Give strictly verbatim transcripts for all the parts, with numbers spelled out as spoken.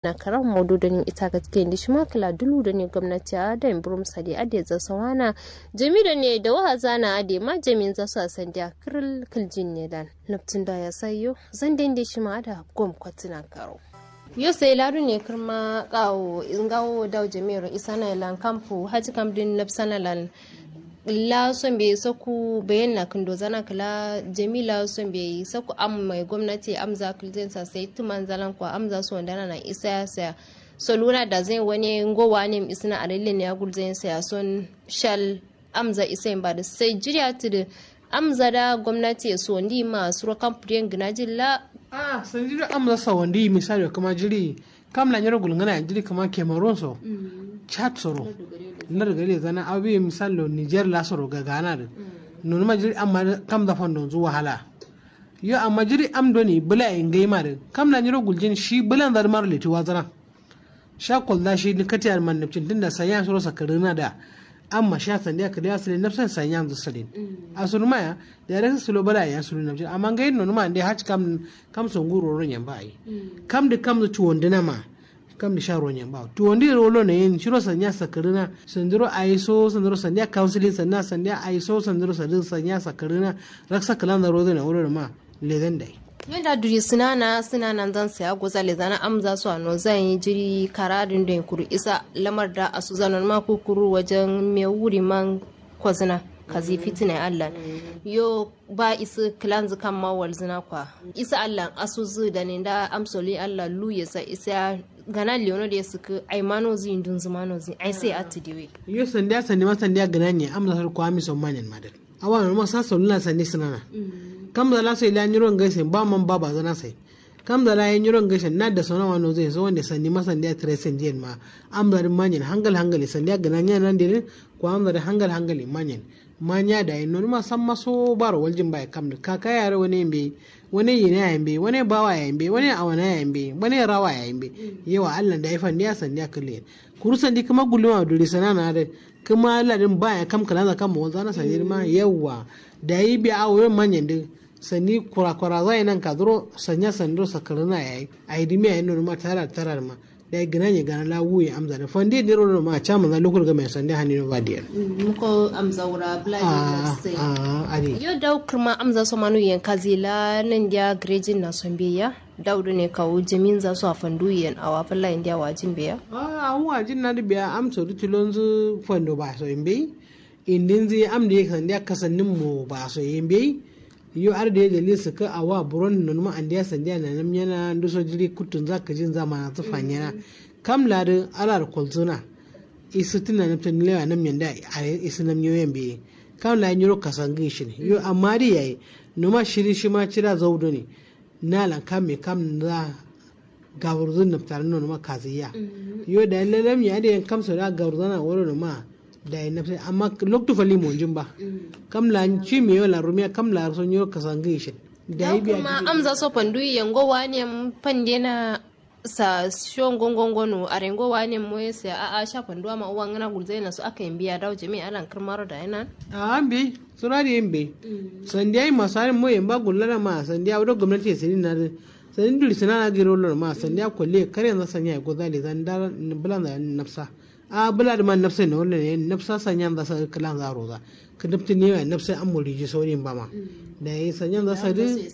Na karam modu doni ita gatke ndi shima kla dulu doni gomnati a dai burum sadi ade za sawana. Jami doni da waha zana ade ma jami za su a sandiya kiril kiljin ne dan. Naptin da ya sayo zan dende shima ada gom kwatina karo. Yo sai ladu ne kirma kawo ngawo dawo jami'ar isana lan kampu haji kam din napsana lan. La sombe saku bayan na kindo zana kila jami la sombe saku am mai gwamnati am za kilzen sa sai tuman zalan kwa am za su wandana na isa ya saya. Soluna da zai wani ngowa ne isna a dalilin ya gulzen saya son shal am za isa ba da sai jiriya tudu. Am za da gwamnati ya so ndi ma suro kampu den gina jilla. A sanji do am za sa wandi misali kuma jiri kam la nyiro gulngana jiri kuma cameroon so. Chad soro. Nar gare zana awi misalo niger la soro ga gana da. Nonuma jiri amma kam za fando zu wahala. Yo amma jiri am doni bula ye ngai ma da kam la nyiro guljin shi bulan za da maro leti wazana. Sha kolda shi ni kati ar man napcin tunda sanya suro sakarina da. Amma sha sandiya kadi asali napsan sanya zu salin. Asurma ya da ya rasa sulo bala ya sulu napcin amma ngai nonuma nde haci kam kam songu roro nyamba ai. Kam da kam zu tuwondina ma. Kam da sha roro nyamba tuwondi rolo ne yin shiro sanya sakarina sandiro aiso sandiro sandiya counseling sanna sandiya aiso sandiro sanya sakarina. Raksa kalan da rozo na wuro ma. Lezen dai. Yanda duri sinana sinana zan saya goza lezana am za su ano zan yi jiri kara dindin kuru isa lamar da asu zanon ma kukuru wajen me wuri man kwazina kazi fitina allah. Yo ba isi kilanzu kan ma walzina kwa isa allah asu zu da ne da amsoli allah lu ya sa isa gana leono da ya suku ai mano zu indun zu mano zu ai sai atu diwe. Yo sandiya sandi ma sandiya gana ne am za su kwa mi son manin madal. Awa no ma sa soluna sandi sinana. Kamza la so ila nyiro ngai sen ba man ba bazana sai. Kamza la ya nyiro ngai sen na da sona wa no zai so wande sandi ma sandi a tire sen diyen ma. Amza din manyen hangal hangal sandi a gana nya nan diyen. Ko amza din hangal hangal manyen. Manya da yin nonuma samma so baro waljin bai kam da kaka yare wani yimbe. Wani yina ya yimbe wani bawa ya yimbe wani awana ya yimbe wani rawa ya yimbe. Yawa allah da ya fandi ya sandi a kulle. Kuru sandi kuma guluma duri sanana da. Kuma ladin baya kam kalanza kam mawalza na sandi ma yawwa. Dayi biya awo yo manyan din. Sandi kura kura zai nan kaduro sanya sandiro sakarina yayi. Ayi dimiya yin nonuma tara tara ma. Dayi gina nye gana la wuye amza da fandi diro nonuma caman za lukur ga mai sandi hani no ba diyan. Muko amza wura bula. Adi. Yo daw kirma amza so manu yen kazi la nan diya grejin na son biya. Daw do ne kawu jamin za so a fandu yen awa falla yen diya wajin biya. Awu wajin na di biya amso di tilonzu fando ba so yen biyi. Indinzi am diye sandiya kasannin mo ba so yen biyi. Yo ar diye dalil saka awa buron nonuma andiya sandiya nanam nyana nduso jiri kuttun za kajin za mana zu fanyana. Kam ladi alar kolzuna. Isu tun nanam tun lewa nam nyanda a isu nam nyoyen biyi. Kam ladi nyiro kasangi shin yo amma di yayi. Numa shiri shima cida zau doni. Nalan kam me kam za. Gawurzun naftarin nonuma kaziya. Yo dayi lalam ya diyen kamso da gawurzana woro numa. Dayi nafsa amma loktu fali monjin ba. Kam la ci me yo la rumiya kam la so nyiro kasangi shin. Dayi biya kuma amza so pandu yengo wane pande na. Sa sho ngongongono arengo wane moye sai a'a sha pandu amma uwa ngana gulzaina so aka yimbiya dawo jami'a alan kirmaro da yana. A'a mbe. Sura da yimbe. Sandiya yi masarin moye ba gullana ma sandiya wado gwamnati ya sinin na. Sandi duri sinana giro lor ma sandiya kolle kare yanzu sanya ya goza le zan da. Bula da nafsa. A bula da ma nafsa ne wala ne nafsa sanya za sa kala za roza. Ka nafti ne ya nafsa an muri ji saurin ba ma. Da yi sanya za sa din.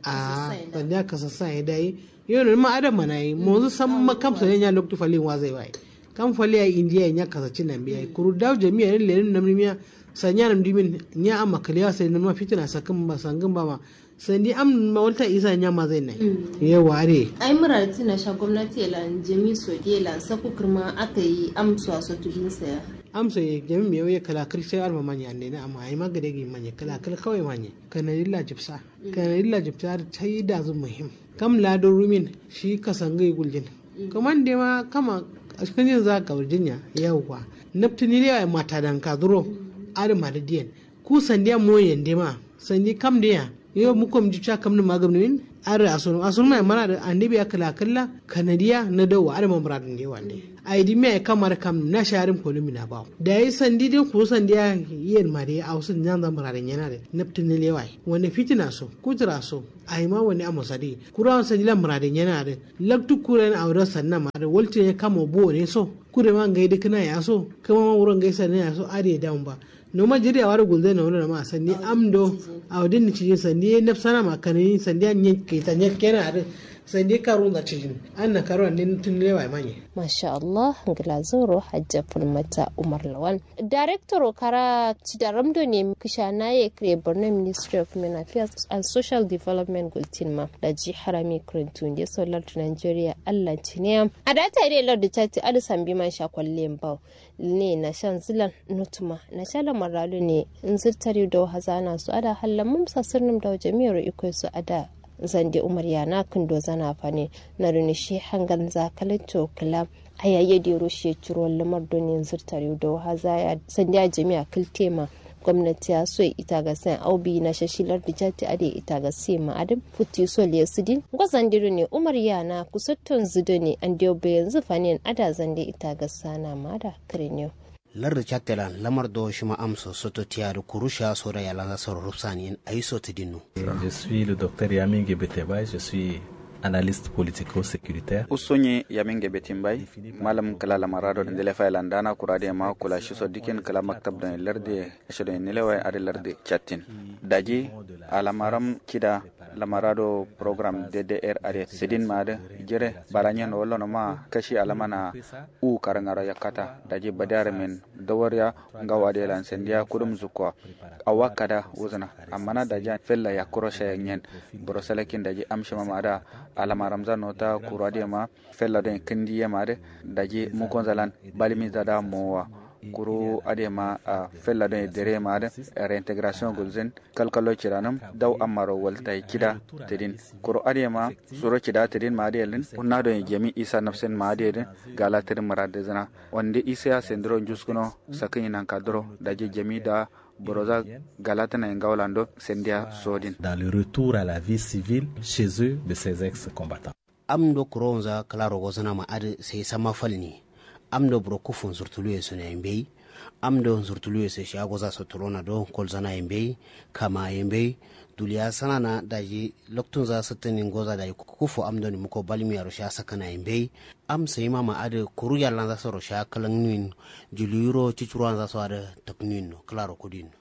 A sandiya ka sassa ya dai. Yo no ma adam mana yi mozu samma kam sanya nya loktu falin wa zai wai. Kam fali ya indiya nya kasa cin nan biya kuru daw jami'a ne lenin namni miya. Sanya nam dimin nya amma kaliya sai nan ma fitina sakin ba sangin ba ma. Sandi am ma walta isa nya ma zai nai. Yawa are. Ai murati na sha gwamnati la jami so de la saku kirma aka yi am so a so tudin saya. Am so ye jami me ye kala kir sai arma manya ne na amma ai ma gade gi manya kala kal kawai manya. Kana illa jibsa. Kana illa jibsa ar tai da zu muhim. Kam la do rumin shi kasangai guljin. Kaman de ma kama askanjin za ka wurjinya. Yawa naftini de mata dan ka duro. Ar ma da diyan. Ku sandiya moyen de ma sandi kam de ya. Yo mukom ji ca kamnum ma gamnumin. Adǝ asunum asunum ma ye mana dǝ ande biya kǝla kǝlla kanadiya na dawa adǝ ma muradǝ nde wande. Ayi dǝ miya ye kam adǝ kamnum na sha adǝm kolumi na bawo dayi sandi dǝ kuru sandi ya. Yen ma dǝ ye awo sǝ nyanza muradǝ nyena dǝ nabtǝ nǝ lewa ye wande fitina so kutǝra so. Ayi ma wande amo sadi kuru awo sandi la muradǝ nyena dǝ laktu kuru yen awo dǝ sanna ma dǝ waltǝ ne kamo buwo ne so. Kure ma ngai dǝ kǝna ya so kǝma ma wuro ngai sanna ya so adǝ ye damu ba. Noma jiri awari gulzai na wulona ma sandi amdo. Awo din cijin sandi ye nafsana ma kanani sandi an nyen kaita nyen kena adin. Sandi karun za cijin an na karu an din tun lewa manye. Masha Allah. Ngila zoro hajja fulmata umar lawan. Director okara cidaram do ne kishana ye kire borno ministry of men affairs and social development gultin ma da ji harami kurintun de solar to nigeria allah ciniyam. Adata ide lardu chati adi sambi man sha kwalle mbau. Ne nasha nzǝlan notuma nasha lamar rado ne nzǝr tariu dawo hazana so ada hallan mum sasǝrnǝm dawo jami'aro ikoi so ada. Zande umar yana kǝndo zana fane. Nado ne shi hangal nza kalanto kǝla. Aya yedero shi curo lamar do ne nzǝr tariu dawo hazaya sande a jami'a kǝltema. Gomnati ya so ita gasen au bi nasha shi lardu jati ade ita gase ma adǝm futti so le sudin ngo zande do ne umar yana kusotton zu do ne ande bayan zu fanen ada zande ita gasana ma ada. Kǝriniyo. Lardu cattelan lamar do shima amso soto tiyadǝ kuru sha soda yalanza soro rufsaniyin ayi so tǝdinno. Je suis le docteur Yaminge Betebay, je suis analyste politico-sécuritaire. Usunyi Yaminge Betimbai, malam kǝla lamarado ndile failan dana kura de ma kula shiso dikin kǝla maktab don larde. Shido nile wai adi larde cattin. Daji alamaram kida lamarado program ddr adi sidin ma adi jire baranyen wallonoma kashi alamana. U karangaro yakkata daji badiya ramin dawariya. Ngawo adiye lan sandiya kudum zukkowa. Awa kada wuzuna. Amma na daji fella yakkuro shayanyen. Buro salakin daji amshima ma ada alama ramza nota kuru adiye ma. Fella don kindi ye ma adi daji mukonza lan balimi zada mowa. Kuru adiye ma fella don dere ma adi reintegration gulzin. Kalkalo cidanǝm dau ammaro waltai cida tǝdin. Kuru adǝ ye ma suro cida tǝdin ma adǝ ye lǝn. Kunna do ye jami isa nafsen ma adǝ ye dǝn. Gala tǝdǝ mǝradǝ zǝna wande isa ya sendiro njuskuno sakǝnyi nanka duro daji jami da. Boroza galatǝna ye ngawo lando sendiya sodin. Dans le retour à la vie civile chez eux de ces ex combattants. Amdo kurowonza kǝla rogozǝna ma adǝ sai samma falni. Amdo buro kuffu nzurtuluwe so naye mbeyi. Amdo nzurtuluwe so shiya goza so tulona do kolzana ye mbeyi. Kama ye mbeyi. Duliya sanana daji loktunza sǝttǝnin goza daji kuffu amdoni muko balmiyaro shiya sakkǝna ye mbeyi. Am sayima ma adǝ kuru yallanza soro shiya kǝlǝngnuwin. Juliwuro cucuruwanza so adǝ tǝknuwinno kǝlaro kuduyinno.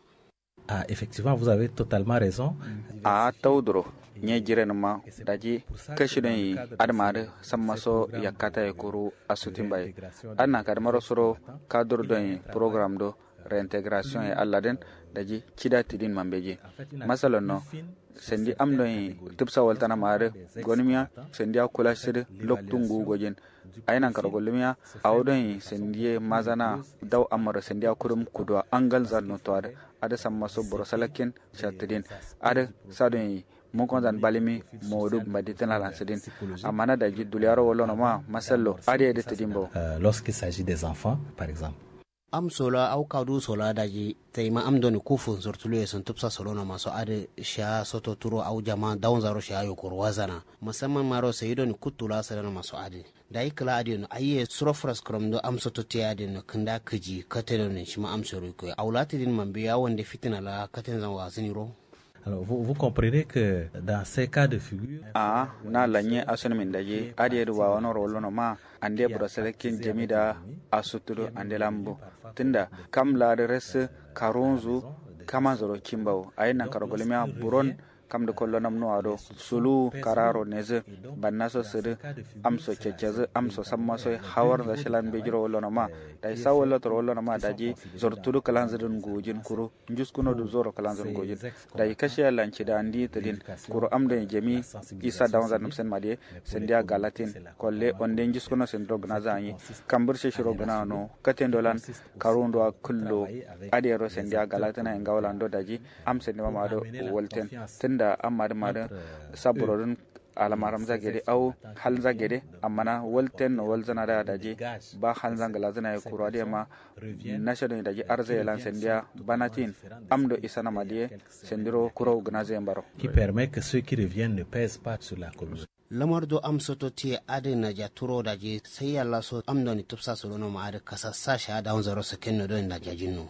Ah, effectivement, vous avez totalement raison. A'a tauduro nye jirenǝma daji kashi don yi adǝma adǝ samma so yakkata ye kuru asutin bayi. Adǝ nankadǝmaro suro kadur don yi program do reintegration ye alladǝn. Daji cida tidin mambeji masalonno. Sandi am don yi tǝbsa waltana ma adǝ gonǝmiya. Sandi a kula shidǝ loktu nguwu gojin. Ayi nankaro gullum ya. Awo don yi sandi ye mazana dau amaro sandi a kudum kuduwa angal zan noto adǝ. Adǝ samma so boro salakkin shattidin adǝ sa don yi mukon zan balimi modu mbadi tǝna lan sǝdin. Amma na daji duliyaro wallonoma masallo adǝ ye dǝ tǝdin bawo. Lorsqu'il s'agit des enfants par exemple. Am sola au kadu sola daji taima am doni kufu nzurtulu ye sun tupsa solono maso adǝ. Shiya soto turo au jama daunzaro shiya yokoro wazana musamman maro sayi doni kuttu la sǝdano maso adǝ. Dayi kǝla adǝ yeno aiye suro fras kǝromdo am soto tiye adǝ yeno kǝnda kǝji kate doni shima am soro yikoye au la tǝdin mambe ya wande fitina la katenzan wazǝniro. Alors vous comprenez que dans ces cas de figure. Aa na lanye asunǝmin daji adǝ ye dǝ wawanoro wallono ma. Ande buro salakkin jami da asuttudu ande lambu tunda kam la dǝ rasǝ karunzu kamanzuro kimbawu ayi nankaro gulmiya buron. Kamdǝ kollo namnuwa do suluwu kararo nezǝ bannaso sǝdǝ amso cacazǝ amso sammaso ye hawarnza shilan mbejiro wallono ma. Daji sa wallo toro wallono ma daji zortudu kǝlanzǝ dǝn ngujin kuru njuskuno dǝ zoro kǝlanzǝ dǝn ngujin. Daji kashiya lan cida ndi tǝdin kuru am done jami isa dawanza nǝmsen madiye. Sandiya galatin kolle onde njuskuno sandiro gǝnaza anyi kambǝr sheshiro gǝnano katendo lan karunduwa kǝllo. Adǝ yero sandiya galatǝna ye ngawo lando daji am sandima ma do walten tunda am madǝ madǝ saburo dǝn. Alamaramza gede au halnza gede. Amma na walten no walzana da daji ba halnza ngla zana ye kura de ma nasha don daji arza ye lan sandiya banatin amdo isana madiye sandiro kuro gna zai baro. Qui permet que ceux qui reviennent ne pèsent pas sur la communauté. Lamar do am soto tiye adin na jaturo daji sai yalla so am doni tupsa solono ma adin kasa sa sha da unzaro sakenno don na jajinno.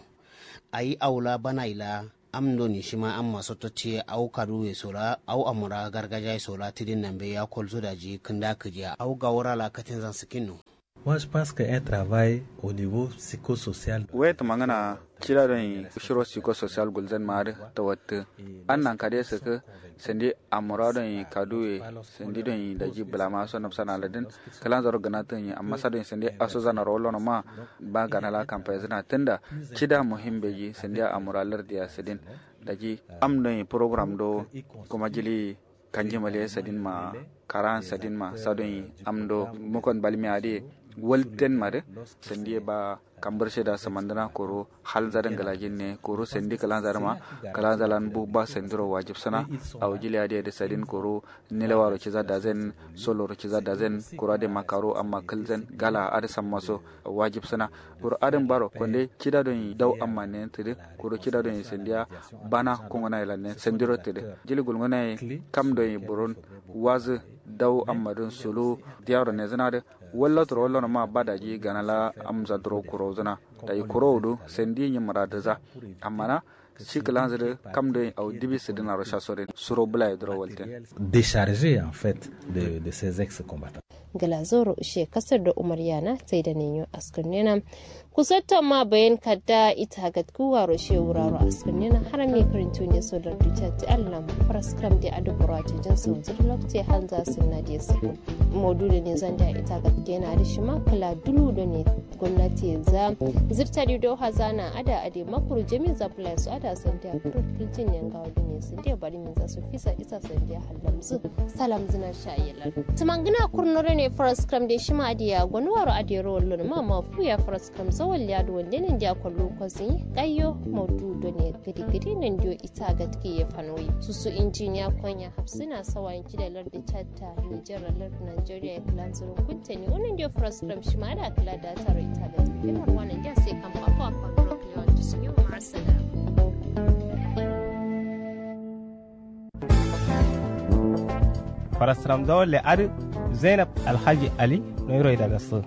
Ayi aula bana ila am doni shima amma soto tiye au kaduwe sola au amura gargaja sola tidin nambe ya kolzo daji kinda kijiya au gawara la katin zan sikinno. Moi je pense que un travail au niveau psychosocial. Wet mangana cida don shiro psychosocial gulzen ma adin tawatti. An nan kade siki sandi amura don kaduwe sandi don daji bulama so nafsana ladin kalan zaro gana tun yi amma sa don sandi aso zana rolo no ma ba gana la kampa zina tunda cida muhim beji sandi amura lardiya sidin daji am don program do kuma jili kanji male sadin ma karan sadin ma sadon yi am do mukon balmi ade walten ma de sandi ba kambar sheda samandana koro hal zadan galajin ne koro sandi kalan zarma kalan zalan bu ba sandiro wajib sana. Au jili ade da sadin koro nilawaro ciza dazen soloro ciza dazen koro ade makaro amma kalzen gala ade sammaso wajib sana. Koro adin baro konde cida don yi dau amma ne tidi koro cida don yi sandiya bana kungana yi lannen sandiro tidi jili gulgana yi kam don yi buron wazi dau amma don sulu diyaro ne zina de. Wallo turo wallo no ma ba daji gana la amza duro kuro zina daji kuro wudu sandi nyi muradu za. Amma na shi kilanzu de kam don yi au dibi sidina ro sha sorin suro bula yi duro walten. Déchargé en fait de, de ces ex-combattants. Ngla zoro she kasar da umar yana sai da ninyo askar nena. Kusatto ma bayan kadda ita gatku waro she wuraro askar nena haram ne karin tuni so da duta ti allam. Faras kram de adu burati jin sau zir lokte hanza sunna de sukun. Modu da ne zan da ita gatke na da shi ma kala dulu da ne gwamnati za zirta di do hazana ada ade makuru jami za plus ada sandiya kuru kiltin yanga wadu ne sandiya bari min za su fisa isa sandiya hallamzu. Salam zina shayelan tumangina kurno do ne faras kram de shima adiya gwani waro adero wallo ma ma fuya faras kram zawal ya do wande ne ndiya kwallo kwazi kayyo modu do ne gidi gidi ne ndiyo ita gatki ye fanoi susu injiniya konya hafsina sawa inji da lardi chad ta nijar lar nigeria ya kila nzurun kunteni unin dio faras kram shima da kila da taro ita da tafi marwana dio sai kan bako a kwan rok lewan tusun yau ma'asala. Faras kram zawon le adu zainab alhaji ali no yiro ida gasu.